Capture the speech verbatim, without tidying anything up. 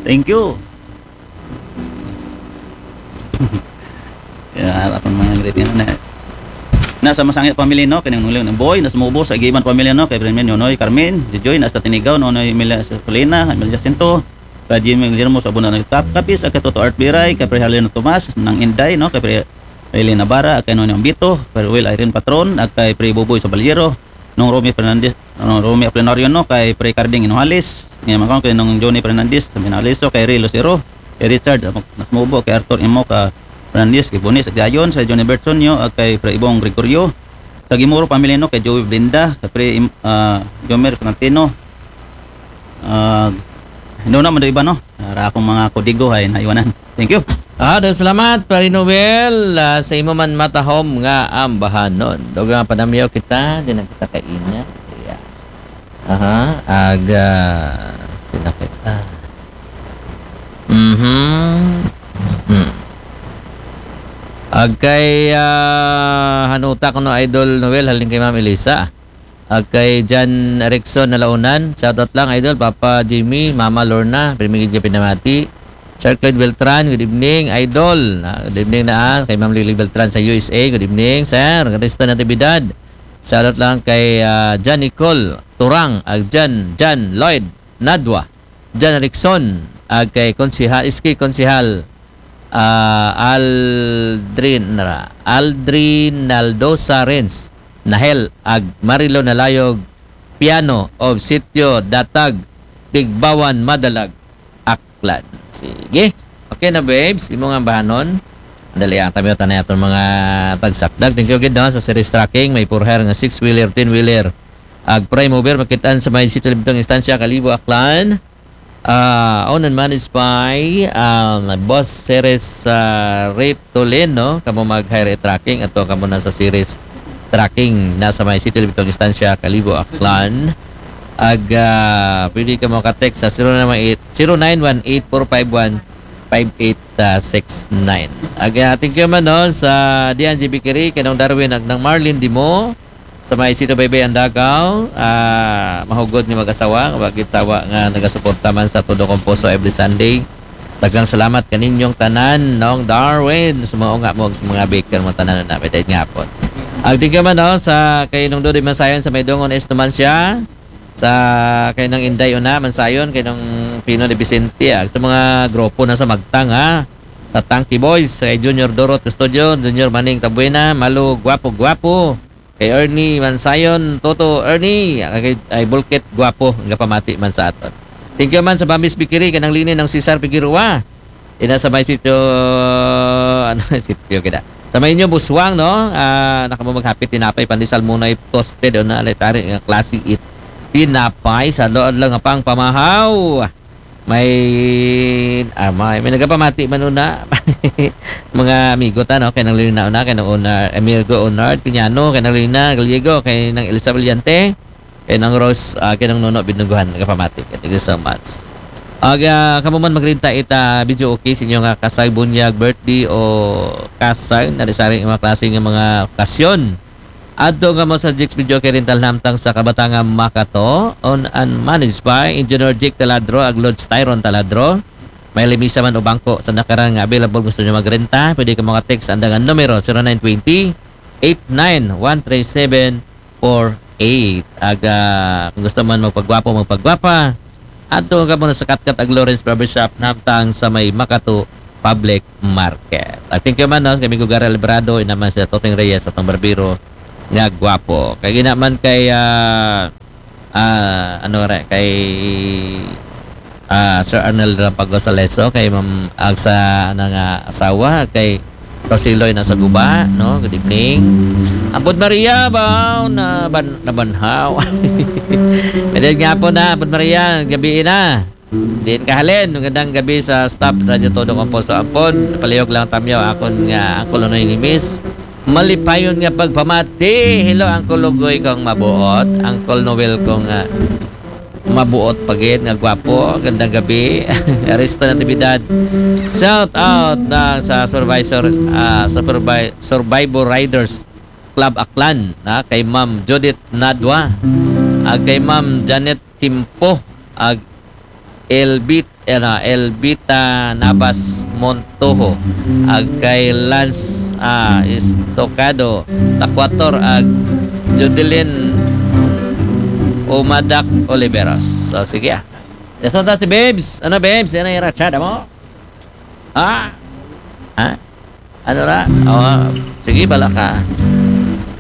Thank you. Ya, apan mga greeting na. Na sa Masangit family, no, kay Nonong Boy, na sa Mubo, sa Giban family, no, kay Bremen, Nonoy Carmen, Jojoy, na sa Tinigaw, Nonoy Emilia Solina, Emilia Jacinto, kay Jimmy Guillermo, sa Abuna, Kap, Kapis, kay Toto Art Biray, kay Pre Halino Tomas, Nang Inday, no, kay Pre Eileen Navarra, kay Nonoy Ambito, kay Will Irene Patron, at kay Pre Buboy sa Balyero, Nong Romy Fernandez, Nong Romy Aplinario, no, kay Pre Carding Inuhalis, ngayon kay Nong Johnny Fernandez, sa Minaliso, kay Ray Lucero, kay Richard Mubo, kay Arthur Imo, ka Fernandez, kay Bonis Agdayon, sa Johnny Bertsonio, at kay Pre Ibong Gregorio, sa Gimoro family, no, kay Joey Blinda, kay Pre Im- ah, Jomer Florentino, ah, doon naman do iba, no, para akong mga kodigo ay naiwanan. Thank you. Ah, daghang salamat, Pare Noel, ah, sa imo man matahom nga ambahanon. Dugang panamyaw kita, di na kita kaina. Yes. Aha, aga, sila kita. Mhm. Hmm. Agkay, ah, hanuta ko no, Idol Noel, halin kay Ma'am Elisa. Agkay Jan Erickson Nalaunan, shoutout lang, Idol, Papa Jimmy, Mama Lorna, primigid ka pinamati. Sir Clyde Beltran, good evening, Idol. Ah, good evening na, ah, kay Ma'am Lily Beltran sa U S A, good evening, sir. Krista Natividad, shoutout lang kay, ah, Jan Nicole Turang, ag Jan, Jan Lloyd Nadwa, Jan Erickson, ag kay Konsehal, S K Konsehal, ah, Aldrin, nara, Aldrin Naldosa Renz, Nahel, ag Marilo Nalayog, Piano, of Sitio Datag, Tigbawan, Madalag, Aklan. Sige. Okay na, babes, imo nga bahanon. Dali ang tabi tanay atong mga tagsakdag. Thank you gid, no, sa Series Trucking, may for hire nga six-wheeler, ten-wheeler, ag prime mover, makitaan sa may City Libtong Instansya, Kalibo, Aklan. Ah, owned and managed by, um, Boss Ceres, ah, Ritolin, no? Kamo mag-hire trucking, ato kamo na sa Ceres Trucking, nasa may City Libtong Instansya, Kalibo, Aklan. Ag, ah, pwede ka maka-text sa zero nine one eight, zero nine one eight four five one five eight six nine. Ag, ah, thank you man, no, sa Dian G B Kiri, kanang Darwin, ag nang Marlene Dimo, sa may Sito Baybay, Andagaw, ah, mahugod nga mag-asawa, nga wa gid sawa nga nagasuporta man sa Todo Composo every Sunday. Daghang salamat kaninyong tanan, Nong Darwin, sa mga unga mo, sa mga baker mo tanan na, may dayag nga hapon. Ag thank you man, no, sa kay Nong Dodi Mansayon sa may Dungon East naman siya, sa kay Nang Inday Una Mansayon, kay Nong Pino de Vicente, ag sa mga grupo na sa Magtang, ha, sa Tanky Boys, kay Junior Dorot Custodio, Junior Maning Tabuena, Malu Guapo Guapo, kay Ernie Mansayon, Toto Ernie, kay, ay, Bulkit Guapo, nga pamati man sa aton. Thank you man sa Bambis Bakery, kanang lini ng Cesar Figueroa. Ina sa may sitio, ano, sitio kita. Sa may inyo, Buswang, no? Ah, nakamo maghapit tinapay, pandesal, munay, toasted, o na, letari, nga klase it. Tinapay, sa doon lang nga pang pamahaw. May, ah, may, may nagapamati man una. Mga amigo ta, no? Kay nang Lina una, kay nang una, amigo Onard Piñano, kay nang Lina Gallego, kay nang Elsa Valiente, kay nang Rose, ah, kay nang Nono Binungguhan, nagapamati. Thank you so much. Ag, ah, kamo man magrinta ita, video okay sa inyo nga kasal, bunyag, birthday, o kasal, na sari mga klase nga mga okasyon. Adto nga mo sa Jix Video kay Rental Namtang sa Kabatangan Makato, owned and managed by Engineer Jake Taladro, ag Lods Tyron Taladro. May limisa man o bangko sa nakarang nga available, gusto nyo magrenta, pwede ka mga text sa andangan numero zero nine twenty, eight nine one three seven four eight. Ag, ah, kung gusto man magpagwapo, magpagwapa, adto ka muna sa Katkat ag Lawrence Barbershop, Namtang sa may Makato Public Market. Ag thank you man, no, kay Migo Gary Alvarado, inaman sa Toteng Reyes, atong barbero nga gwapo. Kay ginaman kay, ah, ah, ano re, kay, ah, Sir Arnel Rampagos Aleso, kay Ma'am Agsa na nga asawa, kay Rosiloy na sa guba, no? Good evening. Ampod Maria ba na ban, nabanhaw? Pwede nga po na, Ampod Maria, gabi na. Din kahalin, magandang gabi sa staff Radyo Todo Composo. Ampon, palihog lang tamyaw akon nga Uncle Unoy ni Miss. Malipayon nga pagpamati. Hello, Uncle Lugoy kong mabuot. Uncle Noel kong, ah, mabuot pagid nga gwapo. Gandang gabi. Arista Natividad. Shout out na sa supervisor, ah, supervi-, Survivor Riders Club Aklan, na kay Ma'am Judith Nadwa, ag kay Ma'am Janet Kimpo, ag Elbit, ano, Elbita Navas Montojo, ag kay Lance, ah, Estocado Tacuator, ag Judeline Umadak Oliveros. So, sige, ah. Yason ta si Babes. Ano, Babes? Ano ira chat mo? Ha? Ha? Ano na? Oh, sige, bala ka.